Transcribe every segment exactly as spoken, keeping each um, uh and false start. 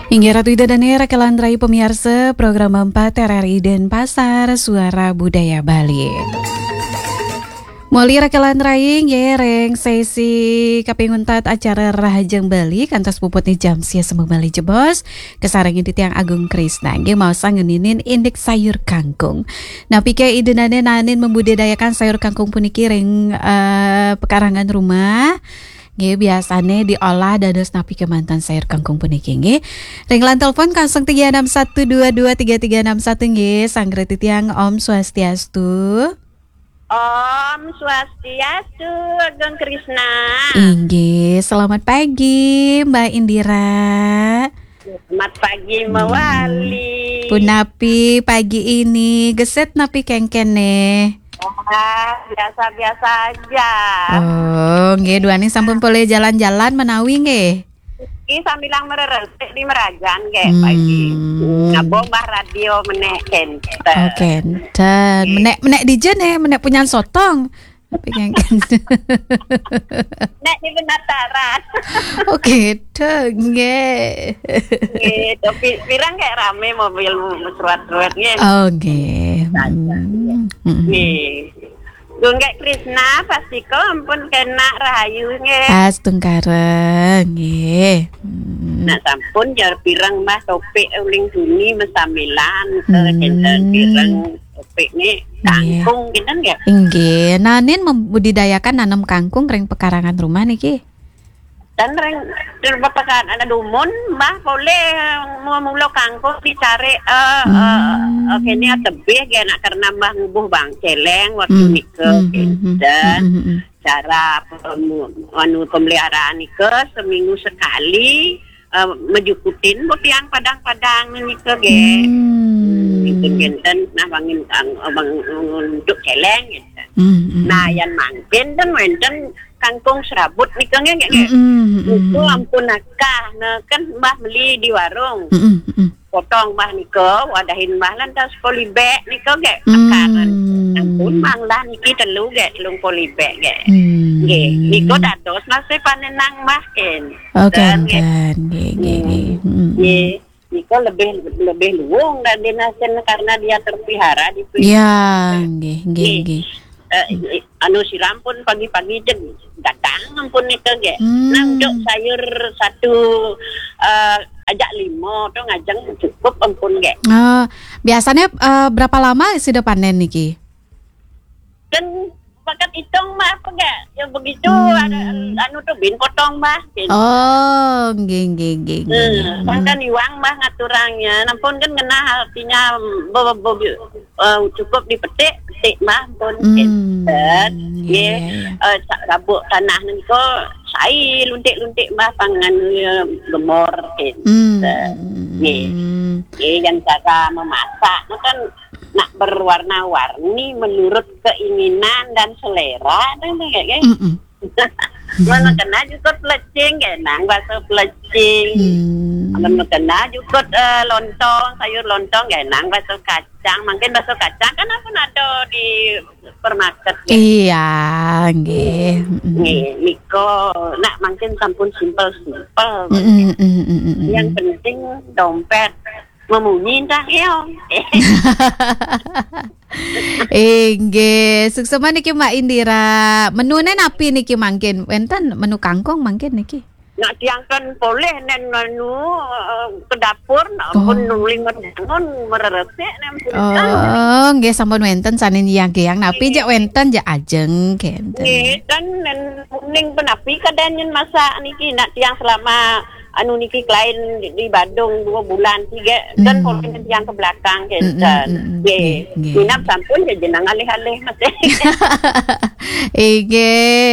Inggih Ratu Ida Dane, Raka Landrai pamiarsa program empat R R I Denpasar, Suara Budaya Bali. Moli Raka Landrai, nggih, ring sesi kaping untat acara Rahajeng Bali, kantos puputne jam sia sembeng malih jebos, kasarengin titiang Agung Krisna, nggih, maos ngeninin indik sayur kangkung. Napi ke Ida Dane naenin membudidayakan sayur kangkung puniki ring, eh, pekarangan rumah? Nggih, biasane diolah dados napi kemanten sayur kangkung puniki, nggih? Ring line telepon kosong tiga enam satu dua dua tiga tiga enam satu, nggih, sanggra titiang, Om Swastiastu. Om Swastiastu, Agung Krisna. Inggih, selamat pagi, Mbak Indira. Selamat pagi, hmm, mawali. Punapi pagi ini? Gesit napi kengkene? Ah, biasa-biasa aja. Oh, nggih, duaning sampun polih jalan-jalan menawi nggih? Nggih, sambilang mereresik di Merajan nggih, hmm, pagi. Ngabung bah radio menek kenten. Oh, kenten. Nggih. Menek, menek dija ne, menek punyan sotong. Tapi nggih. Nek di Penataran. Oh, gitu, nggih. Nggih, tapi pirang kayak rame mobil mesruat-ruat, nggih. Oh, nggih. Saja, hmm, nggih. Hmm. Nggih. Gung Krisna, pastika ampun kenak rahayu, nggih. Astungkara, nggih. Hmm. Nah, sampun jar pirang, Mbah, topik uling tuni mesamilan, hmm, kenten pirang. Topik ni, nggih, kangkung, kinten nggih? Inggih. Naenin membudidayakan nanem kangkung ring pekarangan rumah niki? Ten ring, ring pekarangan dumun, Mbah, polih mula-mula kangkung dicari, eh, eh, hmm, eh, kene tebih nggih, nak karena Mbah ngubuh bang celeng waktu, hmm, nika, hmm, hmm, hmm, kinten. Hmm, hmm, hmm. Cara pem-, anu, pemeliharaan nika seminggu sekali, eh, mejukutin bu tiang padang-padang nika nggih. Hmm. Hmm, kinten, nah, bangin kang-, bang untuk celeng, kinten. Hmm, hmm. Nah, yan mangkin ten wenten kangkung serabut nika nggih, nggih, nggih. Hmm, hmm, hmm, hmm. Niku ampun akah, nah, kan Mbah meli di warung. Hmm, hmm, hmm. Potong Mbah nika, wadahin Mbah lantas polybag nika nggih, hmm, akaran. Ampun, manglah niki telu nggih, telung polybag nggih. Hmm. Nggih, nika dados nasi panenang Mbah ken. Oh, kenten, nggih, nggih, nggih. Hmm. Nggih. Nika lebih, lebih luwung dan dinasen karena dia terpelihara di, ya, nggih, nggih, nggih, nggih. Eh, anu siram pun pagi-pagi jeg datang ampun nika nggih. Hmm. Nah, untuk sayur satu, eh, ajak lima tu ngajeng cukup ampun nggih. Oh, biasanya, eh, berapa lama sudah panen niki? Kan pakat hitung mah apa nggih? Ya begitu, hmm, ada anu tu bin potong mah. Bin. Oh, nggih, nggih, nggih, nggih, hmm, nggih. Kan iwang mah ngaturangnya. Nampun kan kena artinya be-, be-, be-, eh, cukup dipetik, petik mah pun, hmm, kinten. Iya, nggih, iya, iya. Eh, sa-, rabuk tanah nengko sai luntik-luntik mah pangan, eh, gemor, kinten. Hmm, hmm, hmm, nggih, hmm. Nggih, yang cara memasak tu kan nak berwarna-warni menurut keinginan dan selera tu nggih, nggih. Mm-mm. Mun kena jukut pelecing, nggih, nang bakso pelecing. Hmm. Mun kena jukut, eh, lontong, sayur lontong, nggih, nang bakso kacang. Mungkin bakso kacang kan ampun ada di supermarket, nggih. Iya, nggih. Mm-mm. Nggih, nika nak mungkin sampun simpel-simpel. Mm-mm, mm-mm, mm-mm. Yang penting dompet memunyi entah keong. Inggih, suksema niki Mbak Indira. Menune napi niki mangkin? Wenten menu kangkung mangkin niki? Nak tiang kan polih nen anu, eh, ke dapur, nak, oh, pun nuling merdangun, mereresik nen pun. Oh, nggih, sampun wenten sane nyiyang-kiyang. Napi, nggih, jak wenten, jak ajeng, kenten. Nggih, kan nen kuning penapi kadang nyen masak niki, nak tiang selama anu niki kelain di, di Badung dua bulan tiga, kan, hmm, polih nen tiang ke belakang, kenten. Mm, mm, mm, mm. Nggih. Nggih, nggih. Minab sampun ya jenang alih-alih masih. Inggih,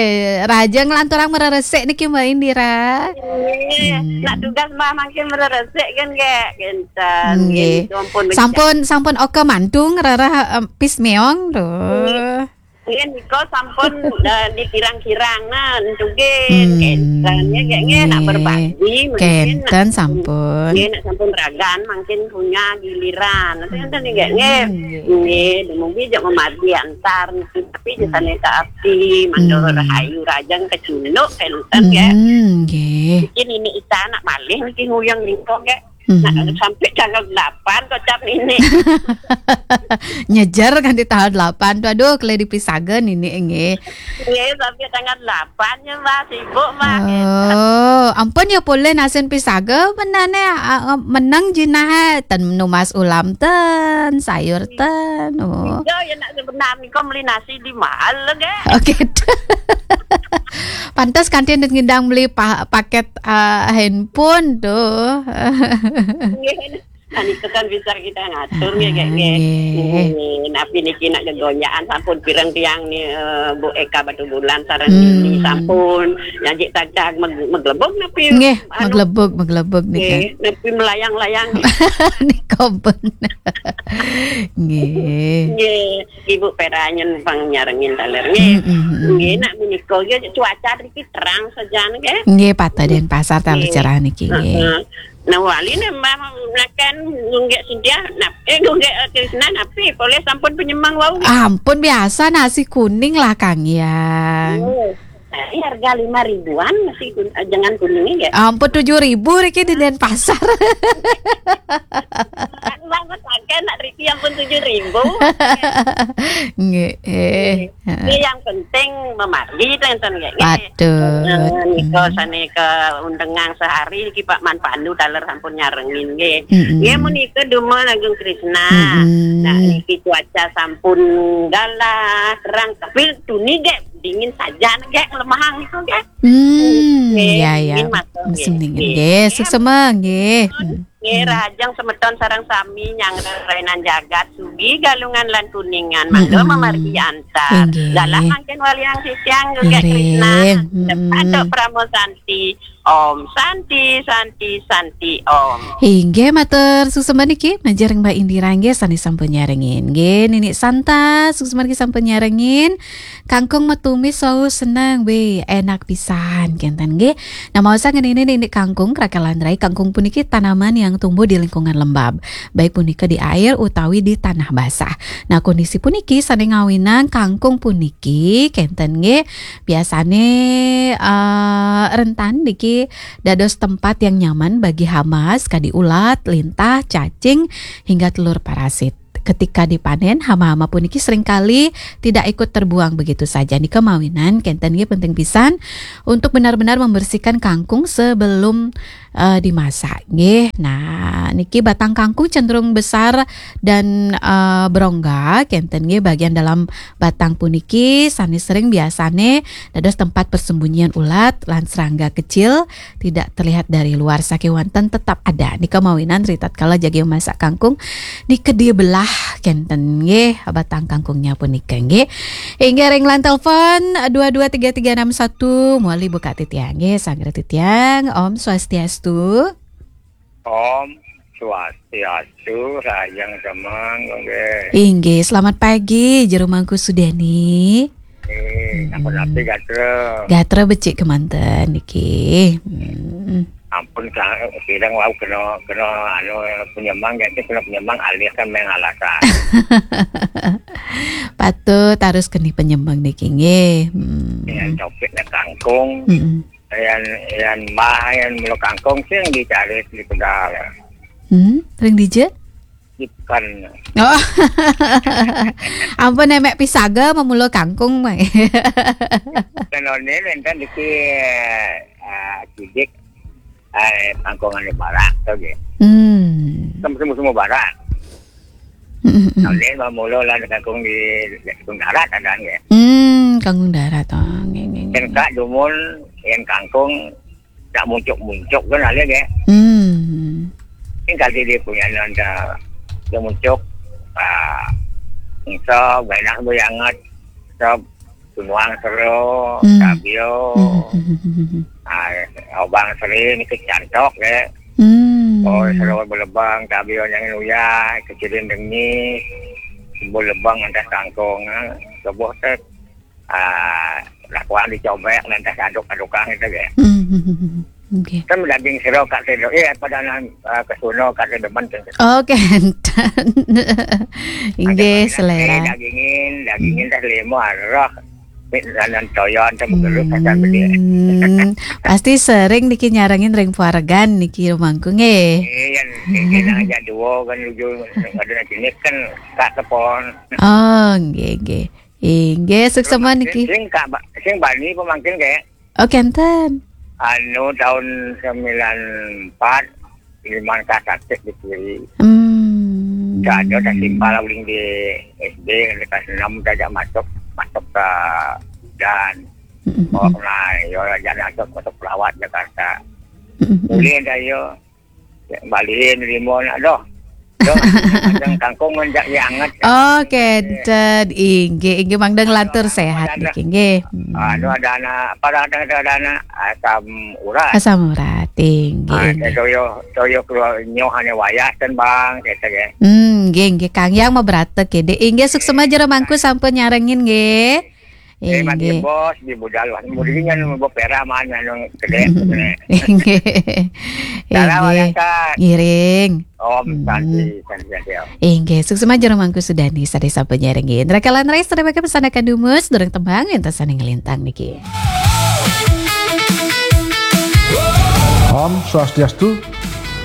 raja nglanturang mereresik niki Mbak Indira. Nggih, hmm, nak tugas Mbah mangkin mereresik kan nggih, kenten. Nggih. Nggih, sampun, sampun oka mantung rarah, em, pis meong tuh. Nggih. Nggih, nika sampun, eh, dikirang-kirang nah, entugin, hmm, kenten, nggih, nggih, nak, nggih, berbagi, mungkin, kenten nak, sampun. Nggih, nak sampun ragan, mungkin punya giliran. Nanti, nanti, nggih, nggih. Hmm, nggih. Nggih, dumugi jak memadi antar, niki, tapi, hmm, jisane ka abdi, mandor, hmm, rahayu, rajang, kecunduk, kenten, nggih. Hmm, nggih. Mungkin ini ita anak malih, niki nguyang nika, nggih. Nah, sampai tanggal delapan kocap nini. Nyejer kan di tanggal delapan tu. Aduh, kele dipisaga nini nggih. Nggih, sampai tanggal delapan ya, Mbak, sibuk, Mbak. Oh, ampun ya, polih nasin pisaga benane, ah, ah, meneng jinah, ten numas ulam ten, sayur ten. Oh. Iya, ya nak sebenarnya kau beli nasi di mahal lagi. Oke. Pantas kanti ngidang beli pa-, paket, ah, handphone tu. Nggih. Nah, itu kan bisa kita ngatur nggih, nggih, nggih. Ah, nggih. Nggih, napi niki nak gegonjakan sampun pireng tiang ni, eh, Bu Eka Batubulan sareng Nini sampun. Nyajik tagtag meg-, meglebug napi? Nggih, anu, meglebug, meglebug nika. Nggih, napi melayang-layang? Nika pun. Nggih. Nggih, Ibu Peranyen pang nyarengin taler nggih. Mm, mm, mm. Nggih, nak menika nggih cuaca niki terang sajan nggih. Nggih, patah Denpasar taler cerah niki nggih. Heeh. Nah, wali ne Mbah makan ngunggek Sintia, nap-, eh, ngunggek, eh, Krisna, napi polih sampun penyemang wau. Ampun, biasa nasi kuning lah, Kang Yang. Oh, tadi harga lima ribuan nasi kun-, eh, jangan kuningnya ya. Ampun, tujuh ribu riki di Denpasar. Kan banget pakai nak riki ampun tujuh ribu. Nggih, eh. Heeh. Nggih, yang penting memargi ten, ten, nggih, nggih. Patut. Nah, nika sané kaundengang sehari niki Pak Man Pandu taler sampun nyarengin nggih. Mm-mm. Nggih, menika Duma Agung Krisna. Mm-mm. Nah, niki cuaca sampun galah, terang, tapi tuni nggih dingin saja nggih, lemahang niku nggih. Hmm, nggih, ya, ya. Dingin masuk, musim nggih, dingin. Nggih. Nggih, suksema nggih. Hmm. Nggih, hmm. Rahajeng semeton sareng sami nyanggra rainan jagat, sugih Galungan lan Kuningan, mangga, mm-mm, mamargi antar. Inggih. Galah mangkin waliang sisiang, nggih, Krisna. Ngiring. Mm-mm. Datuk Parama Santi. Om Santi, Santi, Santi, Om. Inggih, matur suksema niki, manjing Mbak Indira nggih, sané sampun nyarengin. Nggih, Nini Santa, suksema niki sampun nyarengin. Kangkung matumis wau seneng, wéh, enak pisan, kénten nggih. Nah, maos ngenini nini kangkung, krakal lan rai, kangkung puniki tanaman yang tumbuh di lingkungan lembab, baik punika di air utawi di tanah basah. Nah, kondisi puniki sané ngawinang kangkung puniki, kénten nggih, biasane, eh, rentan niki dados tempat yang nyaman bagi hama, kadi ulat, lintah, cacing, hingga telur parasit. Ketika dipanen, hama-hama puniki seringkali tidak ikut terbuang begitu saja. Nika mawinan kénten nggih penting pisan untuk benar-benar membersihkan kangkung sebelum, eh, dimasak nggih. Nah, niki batang kangkung cenderung besar dan, eh, berongga kénten nggih, bagian dalam batang puniki sané sering biasane dados tempat persembunyian ulat lan serangga kecil tidak terlihat dari luar, sakéwanten tetap ada. Nika mawinan ritatkala jagi memasak kangkung, dikedi belah kénten nggih batang kangkungnya punika nggih. Inggih ring line telepon dua dua tiga tiga enam satu, muli buka titiang nggih, sanggra titiang. Om Swastiastu. Om Swastiastu, rahajeng semeng nggih. Inggih, selamat pagi, Jero Mangku Sudeni. Eh, hmm. Napa-napi gatra? Gatra becik kemanten niki. Hmm. Ampun, sa-, sireng wau kena, kena anu, penyemang, ganti kena penyemang, alih kan main alasan. Patut harus keni penyemang niki nggih. Hmm. Dengan topiknya kangkung. Hmm. Yan, yan mbah, yan mula kangkung sing dicari di Tegal. Hmm, ring dija? Ikan. Oh. Ampun, nemek pisaga memula kangkung, Bang. Kenone nenten diki, ah, cidik, eh, kangkung anu barak to nggih. Hmm. Semu-semu barak. Mm, mm, mm. Nah, dia memula lah kangkung di, di kangkung darat ada nggih. Hmm, kangkung darat, oh, nggih, nggih, nggih. Kan kak dumun, yan kangkung, tak muncuk-muncuk kan ada nggih. Hmm. Kan kali dia punya nanda, dia muncuk, ah, sob, enak bu anget, sob, tunuang sero, hmm, tabio. Hmm, hmm, hmm, hmm, hmm. Ah, obang seri niki cantok nggih. Hmm. Oh, sero belebang, tabio yang uyah, kecilin dengis, belebang antas kangkung, ah, lebuh tek, ah, lakuan dicobek, antas aduk-adukang itu nggih. Hmm, hmm, hmm, hmm. Nggih. Kan daging sero kak sero, eh, padanan, ah, kesuno kak sero demen tu. Oh, kénten. Inggih, ada selera. Dagingin, dagingin, hmm, teh lima, roh. Nonton toyon sama gerus acan gedé. Hmm, pasti sering niki nyarengin ring paregan niki rumangku nggih. Iya, niki nang aja duo kan lucu ada nang jenis kan kak tepon. Oh, nggih nggih. Inggih, suksema niki. Sing kak ba- sing bani pemangkin kayak Oh, kenten. Anu tahun sembilan empat, lima ka sakit di kiri. Hmm. Ada tak simpal uling di S D, kelas enam saja masuk, masuk ke dan. Mm-mm. Oh, nah, yo aja masuk, masuk pelawat Jakarta. Mm-mm. Boleh dah yo. Baliin limun, aduh. Aduh, kadang kangkung ngenjak anget. Oh, kenten. Inggih, inggih, mangda nglantur sehat niki, nggih. Hmm. Anu ada anak, pada ada ada anak asam urat. Asam urat, inggih, Ah, inggih. Toyo, toyo keluar nyoh ane wayah ten bang, kata ke. Hmm, nggih, nggih, Kang Yang mah bratek ya, Dek. Inggih, suksema jero mangku sampun nyarengin, nggih. Eh, mati inggih. Bos di budal wah. Mudinya nu bopera mana nu gede. Inggih. Dalam inggih. Wayangkan. Ngiring. Om Hmm. Santi, Santi, Santi, Om. Inggih, suksema jero mangku sudani sadaya sampun nyarengin. Rakalan rais terima kasih pesanakan dumus, durung tembang, enten sane ngelintang niki. Om Swastiastu.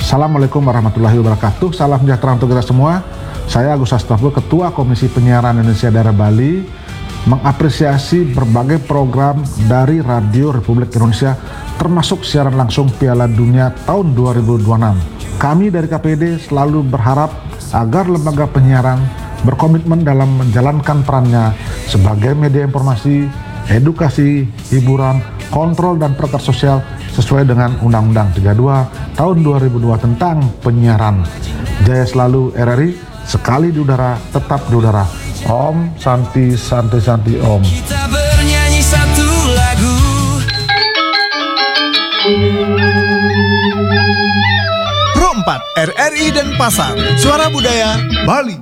Assalamualaikum warahmatullahi wabarakatuh. Salam sejahtera untuk kita semua. Saya Agus Astaful, Ketua Komisi Penyiaran Indonesia Daerah Bali, mengapresiasi berbagai program dari Radio Republik Indonesia, termasuk siaran langsung Piala Dunia tahun dua ribu dua puluh enam. Kami dari K P D selalu berharap agar lembaga penyiaran berkomitmen dalam menjalankan perannya sebagai media informasi, edukasi, hiburan, kontrol, dan perangkat sosial sesuai dengan Undang-Undang tiga dua tahun dua ribu dua tentang penyiaran. Jaya selalu R R I, sekali di udara, tetap di udara. Om Santi, Santi, Santi, Om. Kita bernyanyi satu lagu. Pro empat, R R I Denpasar, Suara Budaya Bali.